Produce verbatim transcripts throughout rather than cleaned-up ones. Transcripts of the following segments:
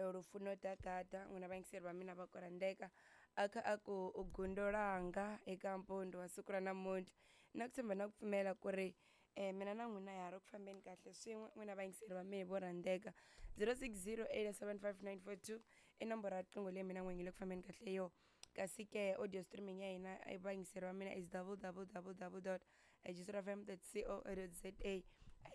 Lufuno Dagada n'wina vayingiseri va mina va ku rhandzeka a kha a ku u gundo ranga eka mpondo wa siku ra namuntlha na ku tshemba na ku pfumela ku ri um mina na n'wina ya ha ri ku fambeni kahle swin'we n'wina vayingiseri va mehe vo rhandzeka zero six zero eight seven five nine four two i nomboro ya riqingho leyi mina n'winyi yi le ku fambeni kahle yo kasi ke audio streaming ya hina vayingiseri va mina is double double double double dot fm dot co dot za a hi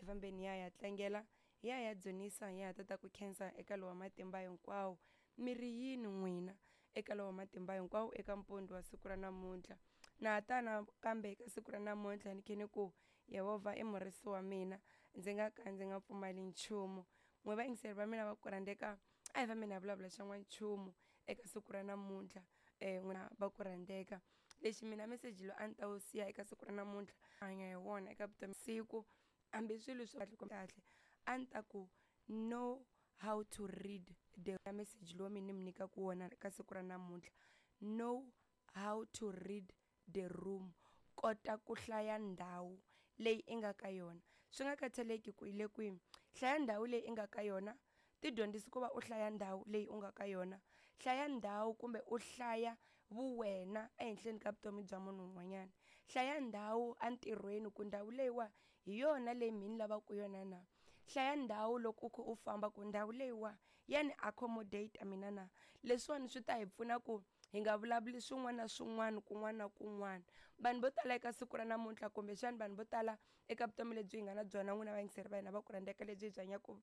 fambeni ya ya tlangela hi ya ya dzunisa hi ya tata ku khensa eka lowa matimba hinkwawo mi ri yini n'wina eka lowa matimba hinkwawo eka mpondo wa siku ra namuntlha na ha tana kambe eka siku ra namuntlha ni khe ni ku Yehovha i murisi wa mina ndzi nga ka ndzi nga pfumali nchumu n'we vayingiseri va mina va ku rhandzeka a hi fambeni hi vulavula xa n'wanchumu eka siku ra namuntlha um n'wina va ku rhandzeka lexi mina meseji lowu a ni ta wu siya eka siku ra namuntlha hanya hi wona eka vutomi siku hambi swilo swi kahle kahle a ni ta ku know how to read the message lowu mi ni mi nyikaka wona ka siku ra namuntlha know how to read the room kota ku hlaya ndhawu leyi i nga ka yona swi nga khathaleki ku yi le kwini hlaya ndhawu leyi i nga ka yona ti dyondzisi ku va u hlaya ndhawu leyi u nga ka yona hlaya ndhawu kumbe u hlaya vuwena ehenhleni ka vutomi bya munhu un'wanyana hlaya ndhawu entirhweni ku ndhawu leyiwa hi yona leyi mina ni lavaka yona na hlaya ndhawu loko u kha u famba ku ndhawu leyiwa ya ni accommodate mina na leswiwani swi ta hi pfuna ku hi nga vulavuli swin'wana na swin'wana kun'wana na kun'wana vanhu vo tala eka siku ra namuntlha kumbexana vanhu vo tala eka vutomi lebyi hi nga na byona n'wina vayingiseri va hina va ku rhandzeka lebyi hi byi hanyaka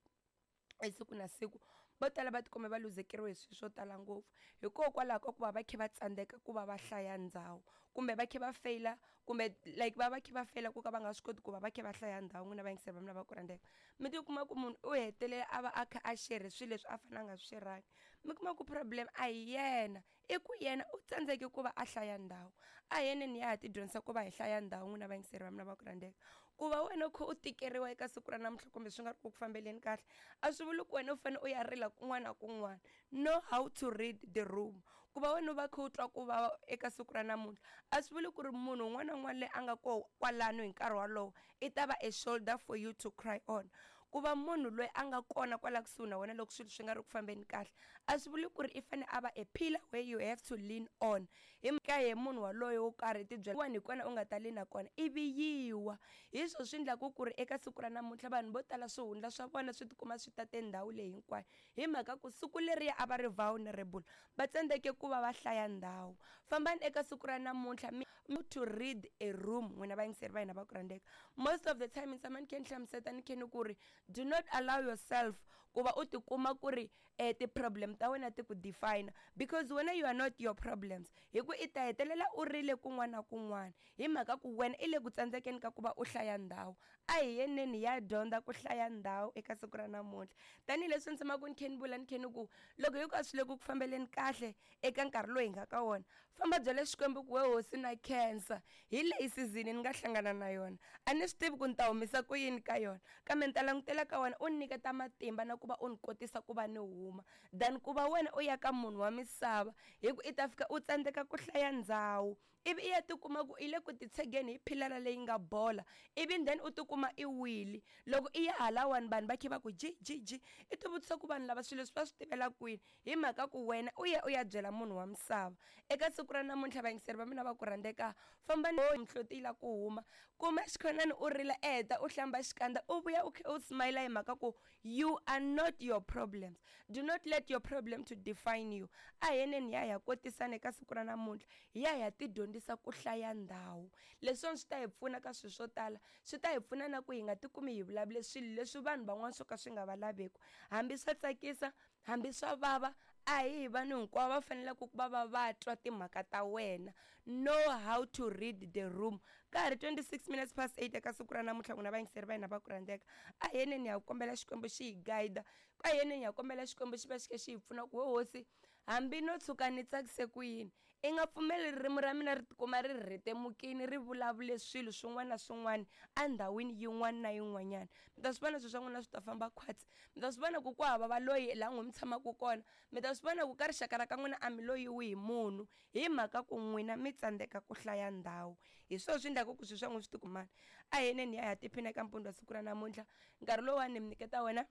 siku na siku vo tala va tikuma va luzekeriwe hi swilo swo tala ngopfu hikokwalaho ka ku va va kha va tsandzeka ku va va hlaya ndhawu kumbe va kha va feyila kumbe like va va kha va feyila ku ka va nga swi koti ku va va kha va hlaya ndhawu n'wina vayingiseri va mina va ku rhandzeka mi tikuma ku munhu u hetelela a va a kha a shere swilo leswi a fanele a nga swi xerangi mi kuma ku problem a hi yena i ku yena u tsandzeke ku va a hlaya ndhawu a hi yeneni ya ha ti dyondzisa ku va hi hlaya ndhawu n'wina vayingiseri va mina va ku rhandzeka ku va wena u kha u tikeriwa eka siku ra namuntlha kumbe swi nga ri ku ku fambeleni kahle a swi vuli ku wena u fanele u ya rila kun'wana na kun'wana know how to read the room ku va wena u va kha u twa ku vava eka siku ra namuntlha a swi vuli ku ri munhu un'wana na un'wana loyi a nga koho kwalano hi nkarhi wolowo i ta va a shoulder for you to cry on ku va munhu loyi a nga kona kwala kusuhi na wena loko swilo swi nga ri ku fambeni kahle a swi vuli ku ri i fanele a va a pillar where you have to lean on hi mhaka ye munhu waloye wo karhi ti byela hi kona u nga ta lean kona ivi yiwa hi swo swi endlaku ku ri eka siku ra namuntlha vanhu vo tala swihundla swa vona swi tikuma swi tate ndhawu leyi hinkwayo hi mhaka ku siku leriya a va ri vulnerable va tsandzeke ku va va hlaya ndhawu fambani eka siku ra namuntlha mi to read a room n'wina vayingiseri va hina va ku rhandzeka most of the time ni tshama ni khe ni hlamuseta ni khe ni ku ri do not allow yourself ku va u tikuma ku ri um ti-problem ta wena ti ku define because wena you are not your problems hi ku i ta hetelela u rile kun'wana na kun'wana hi mhaka ku wena i le ku tsandzekeni ka ku va u hlaya ndhawu a hi yeneni hi ya dyondza ku hlaya ndhawu eka siku ra namuntlha tanihileswi ni tshamaka ni khe ni vula ni khe ni ku loko hinkwaswo le ku ku fambeleni kahle eka nkarhi lowu hi nga ka wona famba byela xikwembu ku we hosi na khensa hi leyi season ni nga hlangana na yona a ni swi tivi ku ni ta humisa ku yini ka yona kambe ni ta langutela ka wena u ni nyiketa matimba na ku va u ni kotisa ku va ni huma than ku va wena u ya ka munhu wa misava hi ku i ta fika u tsandzeka ku hlaya ndhawu ivi i ya tikuma ku i le ku titshegeni hi philara leyi nga bola ivi then u tikuma i wile loko i ya halawani vanhu va kha va ku ji ji ji i ti vutisa ku vanhu lava swilo leswi va swi tivela kwini hi mhaka ku wena u ya u ya byela munhu wa misava eka siku ra namuntlha vayingiseri va mina va ku rhandzeka famba mihloti yi la ku huma kuma xikhonani u rila u heta u hlamba xikandza u vuya u kha u smile hi mhaka ku you are not your problems do not let your problem to define you a hi yeneni hi ya hi ya kotisana eka siku ra namuntlha hi ya hi ya ti dyondzisa ku hlaya ndhawu leswiwani swi ta hi pfuna ka swilo swo tala swi ta hi pfuna na ku hi nga tikumi hi vulavule swilo leswi vanhu van'wana swo ka swi nga va laveki hambi swa tsakisa hambi swa vava a hi hi vanhu hinkwavo va faneleke ku va va va twa timhaka ta wena know how to read the room ka ha ri twenty six minutes past eight eka siku ra namuntlha n'wina vayingiseri va hina va ku rhandzeka a hi yeneni ha kombela xikwembu xi hi guide a hi yeneni ha kombela xikwembu xi va xi kha xi hi pfuna ku we hosi hambi no tshuka ni tsakise ku yini i nga pfumeli ririmi ra mina ri tikuma ri rhetemukini ri vulavule swilo swin'wana na swin'wana endhawini yin'wana na yin'wanyana mi ta swi vona swilo swa n'wina swi ta famba khwatsi mi ta swi vona ku ku hava valoyi laha n'wi mi tshamaka kona mi ta swi vona ku ka rixaka ra ka n'wina a mi loyiwi hi munhu hi mhaka ku n'wina mi tsandzeka ku hlaya ndhawu hi swona swi endlaka ku swilo swa n'wina swi tikumana a hi yeneni hi ya hi ya tiphina eka mpundzu wa siku ra namuntlha nkarhi lowuwani ni mi nyiketa wena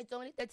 itsongo ni